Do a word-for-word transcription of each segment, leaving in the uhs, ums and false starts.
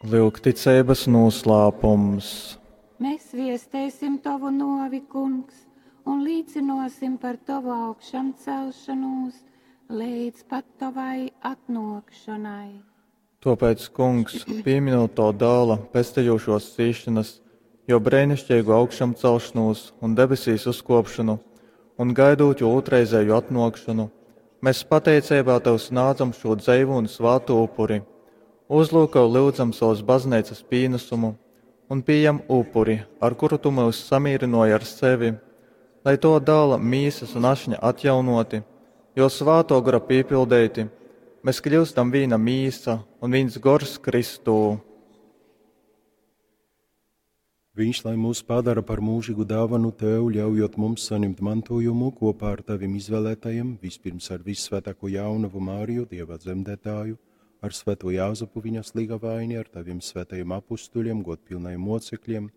Lyugticeibas nūslāpums. Mēs viestēsim tovu novi, Kungs, un līcinosim par tovu augšamcelšanos līdz pat tovai atnōkšanai. Tōpēc, Kungs, pīminot tavu dāla pestejošos cīšanas, jo breinišķīgo augšamcelšanos un debesīs uzkopšanu, un gaidot jo otrreizēju atnākšanu, mēs pateicībā tev snādzam šo dzeivu un svātu upuri. Uzlūko lūdzam savas baznīcas pienesumu un pieņem upuri, ar kuru tu mūs samierināji ar sevi, lai to dāla mīsas un ašņa atjaunoti, jo svāto gara pīpildēti, mēs kļūstam vīna mīsa un viens gors Kristū. Viņš, lai mūs padara par mūžīgu dāvanu tev, ļaujot mums saņemt mantojumu kopā ar taviem izvēlētajiem, vispirms ar vissvētāko jaunavu Māriju, Dieva dzemdētāju, ar svēto Jāzepu viņas līgavaini, ar taviem svētajiem apustuļiem, godpilnajiem mocekļiem,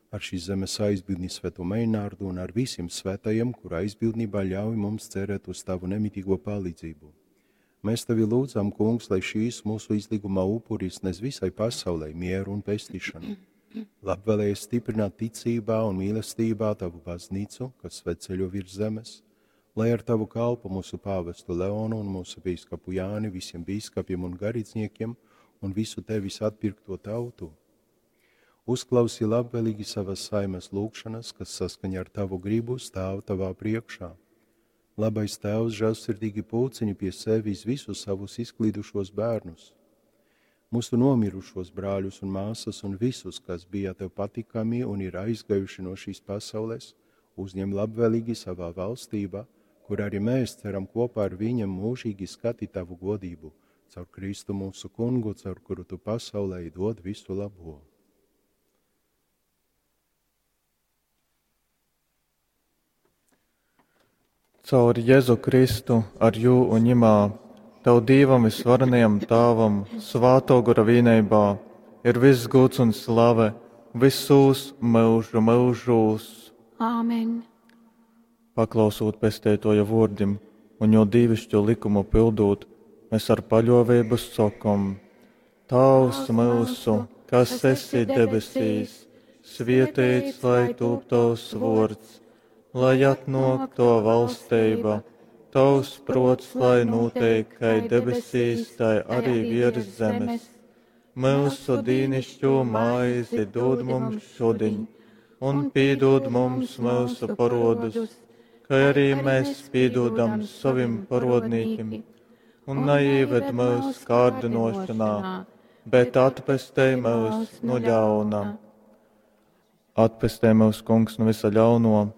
ar šīs zemes aizbildni svēto Meinārdu un ar visiem svētajiem, kura aizbildnībā ļauj mums cerēt uz tavu nemitīgo palīdzību. Mēs tevi lūdzam, Kungs, lai šīs mūsu izlīguma upuris nes visai pasaulē mieru un pestīšanu. Labvēlējies stiprināt ticībā un mīlestībā tavu baznīcu, kas svētceļo virs zemes, lai ar tavu kalpu mūsu pāvestu Leonu un mūsu bīskapu Jāni, visiem bīskapiem un garīdzniekiem un visu tevis atpirkto tautu. Uzklausi labvēlīgi savas saimes lūgšanas, kas saskaņā ar tavu gribu stāv tavā priekšā. Labais Tēvs žēlsirdīgi pulciņi pie sevis visus savus izklīdušos bērnus, mūsu nomirušos brāļus un māsas un visus, kas bija tev patikami un ir aizgājuši no šīs pasaules, uzņem labvēlīgi savā valstībā, kur arī mēs ceram kopā ar viņiem mūžīgi skatīt tavu godību, caur Kristu mūsu kungu, caur kuru tu pasaulē dod visu labo. Caur Jēzu Kristu, ar jū un ņemā, tev Dievam visvarenajam Tāvam, svāto gora vienībā, ir viss gods un slave, visos mūžu mūžos. Āmen. Paklausot pestētoja vārdim un jo dīvišķo likumu pildot, mēs ar paļāvību sakam: Tēvs mūsu, kas esi debesīs, svētīts lai tūp tavs vārds, lai atnāk to valstība, tavs prots, lai notiek, kai debesīs, tai arī virs zemes. Mūsu dīnišķo maizi dod mums šodien, un piedod mums mūsu parodus, kā arī mēs piedodam savim parodnīkim, un neieved mūsu kārdinošanā, bet atpestej mūs no ļauna. Atpestej mūs, Kungs, no visa ļauno,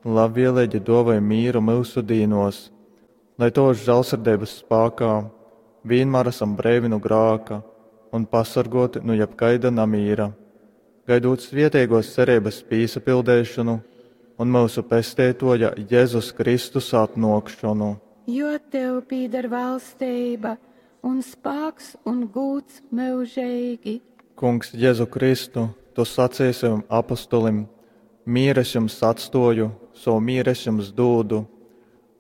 labvēlīgi dovai mīru mūsu dīnos, lai tos žēlsirdības spēkā vienmēr esam brīvi no grāka un pasargoti no jebkaida namīra, gaidot svietīgos cerības pīsapildēšanu un mūsu pestētoja Jēzus Kristus atnākšanu. Jo tev pīdar valstība un spāks un gūts mūžīgi. Kungs Jēzu Kristu, tu sacīji saviem apustulim, mieru es jums atstoju, savu mieru es jums dūdu.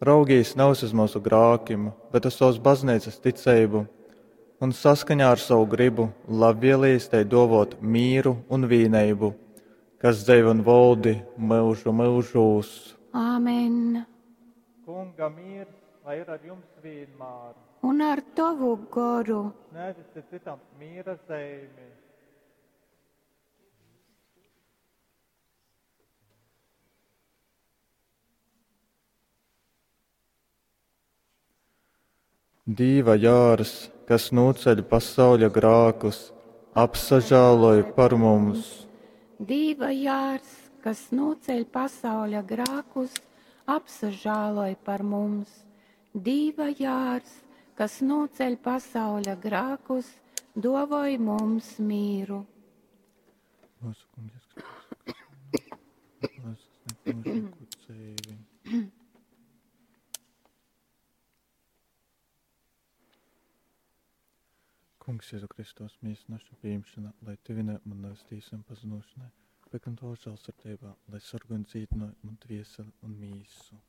Raugīs nevis uz mūsu grākim, bet uz savas baznīcas ticību, un saskaņā ar savu gribu labvēlīs tai dovot mīru un vīneibu, kas dzeiv un voldi mūžu mūžūs. Āmen. Kunga miers, lai ir ar jums vienmēr. Un ar tavu goru. Sniedziet citam miera zīmi. Dīva jārs, kas noceļ pasauļa grākus, apsažāloj par mums. Dīva jārs, kas noceļ pasauļa grākus, apsažāloj par mums. Dīva jārs, kas noceļ pasauļa grākus, dovoj mums mīru. Mūsu Kungs Jēzus Kristus, kas mūžīgu dzīvi. Kungs Jēzu Kristus, mīs naša pieņemšana, lai tevine man nevis un pazinošanai, bet gan to žēlsirdībā, lai sargu un dzītinoja man dvieseli un mīsu.